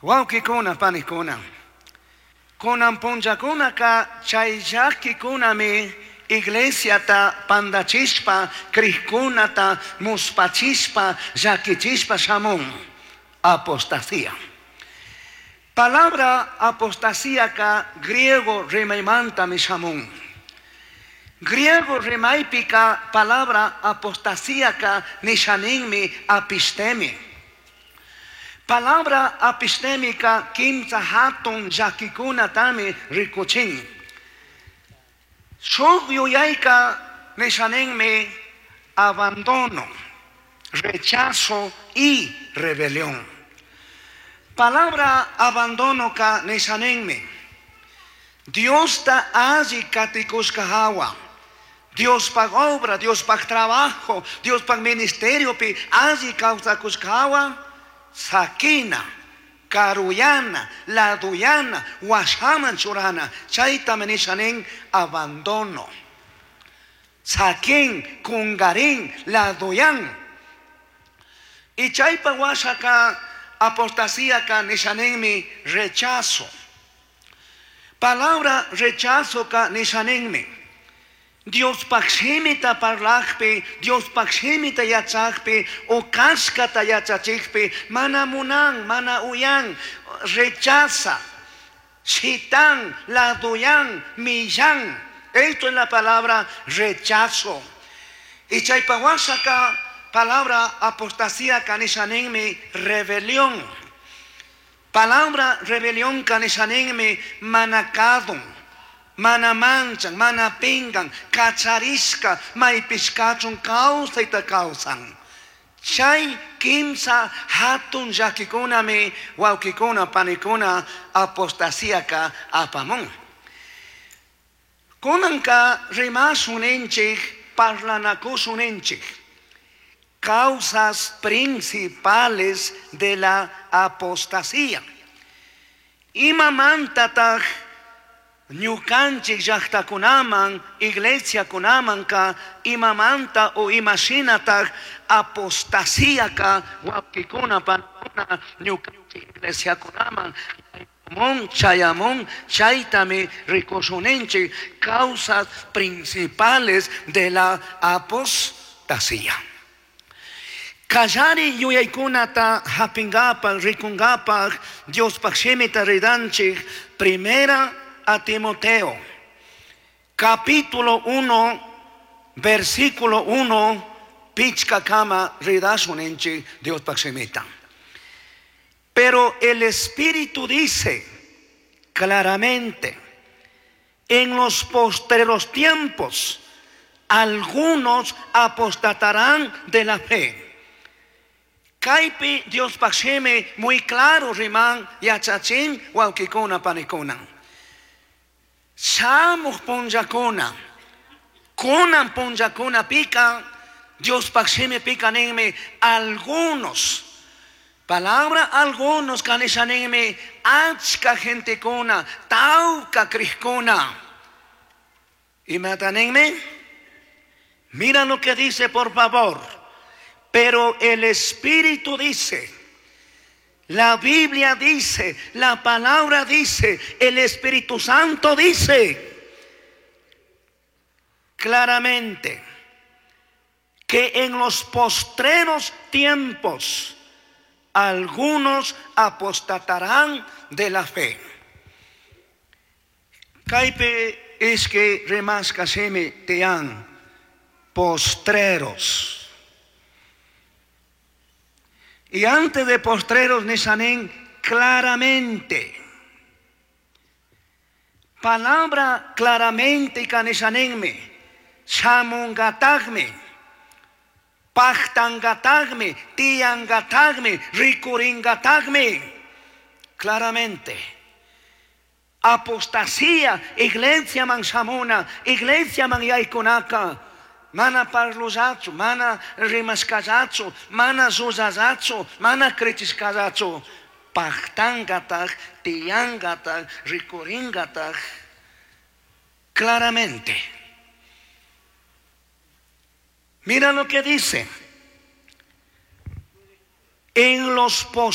Wawqikuna, panikuna. Kunan punllakunaka chay llakikunami iglesiata pandachishpa, crijkunata muspachishpa, llakichishpa shamun. Apostasía. Palabra apostasíaka griego rimaymantami shamun. Griego rimaypika palabra apostasíaka nishaninmi apistemi. Palabra apistemika kimsa hatun llakikunatami rikuchin. Shuk yuyayka nishaninmi abandono, rechazo y rebelión. Palabra abandonoka nishaninmi Diosta alli katikushka hawa. Diospaj obra, Diospaj trabajo, Diospaj ministeriopi alli kawsakushka hawa, sakina, karuyana, laduyana, washaman churana, chaytami nishanin abandono. Sakin, kungarin, laduyan. Y chaypa washaka apostasíaka nishaninmi rechazo. Palabra rechazo ka nishaninmi. Diospaj shimita parlajpi, Diospaj shimita yachajpi, o kashkata yachachijpi, mana munan, mana uyan, rechaza, shitan, laduyan, millan. Esto es la palabra rechazo. Y chaypa washaka palabra apostasía ka nishaninmi rebelión. Palabra rebelión ka nishaninmi mana kadun, mana manchan, mana pingan, kacharishka, maypishkachun kawsayta kawsan. Chay kimsa hatun llakikunami wawkikuna panikuna apostasíaka apamun. Kunanka rimashun ninchik, parlanakushun ninchik. Causas principales de la apostasía. Imamantataq ñukanchik llaqtakunaman, iglesiakunamanka imamanta o imashinataq apostasíaka wawkikuna panikuna ñukanchik iglesiakunaman mun chayamun chaytami rikushun ninchik causas principales de la apostasía. Kallari yuyaykunata hapingapaj, rikungapaj, Diospaj shimita ridanchik, primera a Timoteo, capítulo 1, versículo 1, pichkakama ridashun ninchik Diospaj shimita. Pero el Espíritu dice claramente, en los postreros tiempos, algunos apostatarán de la fe. Kaypi Diospaj shimi muy claro riman yachachin wawkikuna panikuna. Shamuj punllakuna, kunan punllakunapika, Diospaj shimipika ninmi algunos. Palabra algunos kanishaninmi achka gentekuna, tawka crijkuna. Imata ninmi? Mira lo que dice, por favor. Pero el Espíritu dice, la Biblia dice, la palabra dice, el Espíritu Santo dice claramente que en los postreros tiempos algunos apostatarán de la fe. Kaypi ishki rimashka shimi tiyan postreros. Y antes de postreros nishanin claramente. Palabra claramente kanishaninmi, shamungatagmi, pajtangatagmi, tiyangatagmi, rikuringatagmi. Claramente. Apostasía, iglesia man shamuna, iglesia man yaykunaka. Mana parlullachu, mana rimashkallachu, mana llullallachu, mana krichishkallachu. Pajtangataj, tiyangataj, rikuringataj. Claramente. Mira lo que dice. En los